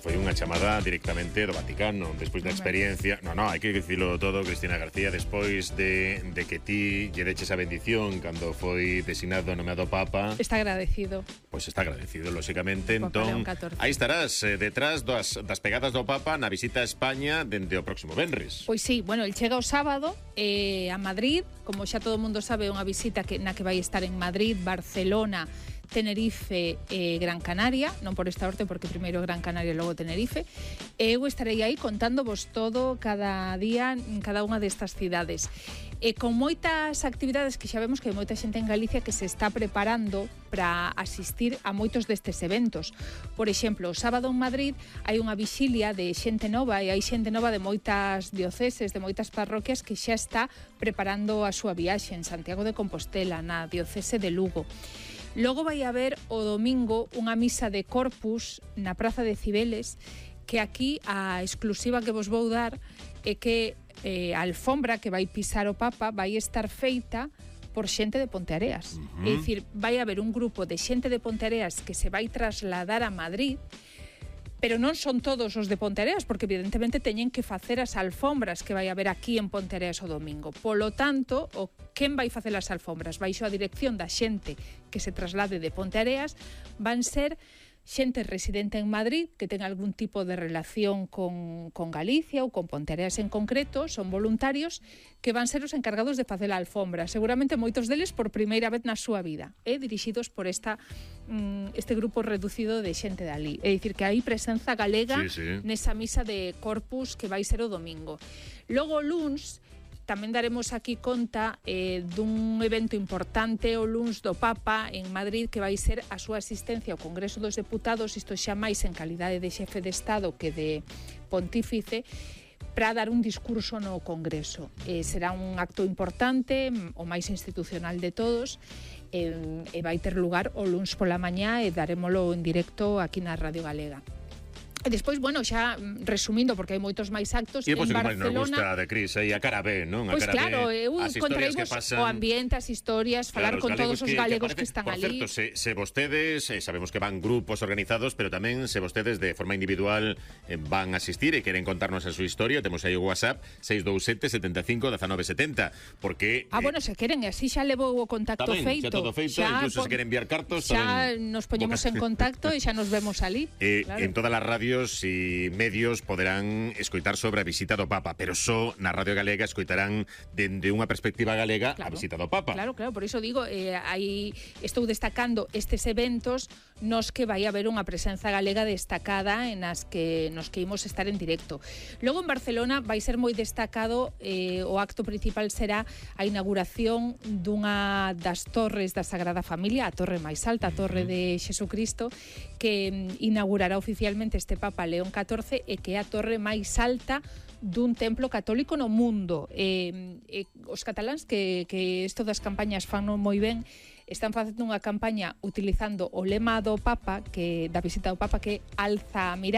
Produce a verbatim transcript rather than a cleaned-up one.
foi unha chamada directamente do Vaticano, despois da experiencia. No, no, hai que dicilo todo, Cristina García, despois de, de que ti lle deches a bendición cando foi designado nomeado Papa. Está agradecido. Pois está agradecido, lóxicamente. Papa Entón, León catorce. aí estarás eh, detrás das, das pegadas do Papa na visita a España dende o próximo venres. Pois sí, bueno, el chega o sábado eh, a Madrid, como xa todo o mundo sabe, é unha visita que, na que vai estar en Madrid, Barcelona, Tenerife e eh, Gran Canaria, non por esta orte, porque primeiro Gran Canaria e logo Tenerife. E eu estarei aí contándovos todo cada día en cada unha destas cidades. E con moitas actividades que xa vemos que hai moita xente en Galicia que se está preparando para asistir a moitos destes eventos. Por exemplo, o sábado en Madrid hai unha vixilia de xente nova e hai xente nova de moitas dioceses, de moitas parroquias que xa está preparando a súa viaxe en Santiago de Compostela, na diocese de Lugo. Logo vai haber o domingo unha misa de Corpus na Praza de Cibeles, que aquí a exclusiva que vos vou dar é que eh, a alfombra que vai pisar o Papa vai estar feita por xente de Ponteareas. Uh-huh. É dicir, vai haber un grupo de xente de Ponteareas que se vai trasladar a Madrid, pero non son todos os de Ponteareas, porque evidentemente teñen que facer as alfombras que vai haber aquí en Ponteareas o domingo. Polo tanto, o quen vai facer as alfombras baixo a dirección da xente que se traslade de Ponteareas van ser xente residente en Madrid que ten algún tipo de relación con, con Galicia ou con Ponteareas en concreto, son voluntarios que van ser os encargados de facer a alfombra, seguramente moitos deles por primeira vez na súa vida, eh, dirixidos por esta mm, este grupo reducido de xente de ali. É dicir, que hai presenza galega sí, sí. nesa misa de Corpus que vai ser o domingo. Logo o luns tamén daremos aquí conta eh, dun evento importante o luns do Papa en Madrid, que vai ser a súa asistencia ao Congreso dos Deputados, isto xa máis en calidade de xefe de Estado que de pontífice, para dar un discurso no Congreso. Eh, será un acto importante, o máis institucional de todos, eh, e vai ter lugar o luns pola mañá e darémolo en directo aquí na Radio Galega. E despois, bueno, xa resumindo, porque hai moitos máis actos en Barcelona. E pois nos gusta de Cris, aí a cara B, non? A Pois cara claro, B, eu contaremos pasan... o ambiente, as historias, falar claro, con todos os galegos que, que, que están por ali. Por certo, se, se vostedes, eh, sabemos que van grupos organizados, pero tamén se vostedes de forma individual eh, van a asistir e queren contarnos a súa historia, temos aí o WhatsApp seis dous sete, sete cinco, uno nueve sete cero, porque... Ah, eh, bueno, se queren, así xa levo o contacto tamén, feito. Xa todo feito, xa, incluso pon... se queren enviar cartos, xa tamén... nos poñemos en contacto e xa nos vemos ali. Eh, claro. En todas as radios e medios poderán escoitar sobre a visita do Papa, pero só na Radio Galega escoitarán dende unha perspectiva galega claro, a visita do Papa. Claro, claro, por iso digo, eh, aí estou destacando estes eventos nos que vai haber unha presenza galega destacada en as que nos que imos estar en directo. Logo en Barcelona vai ser moi destacado, eh, o acto principal será a inauguración dunha das torres da Sagrada Familia, a torre máis alta, a torre de Xesucristo, que inaugurará oficialmente este Papa León catorce e que é a torre máis alta dun templo católico no mundo. Eh, eh, os cataláns que, que isto das campañas fan moi ben, están facendo unha campaña utilizando o lema do Papa, que da visita do Papa, que alza a mirada.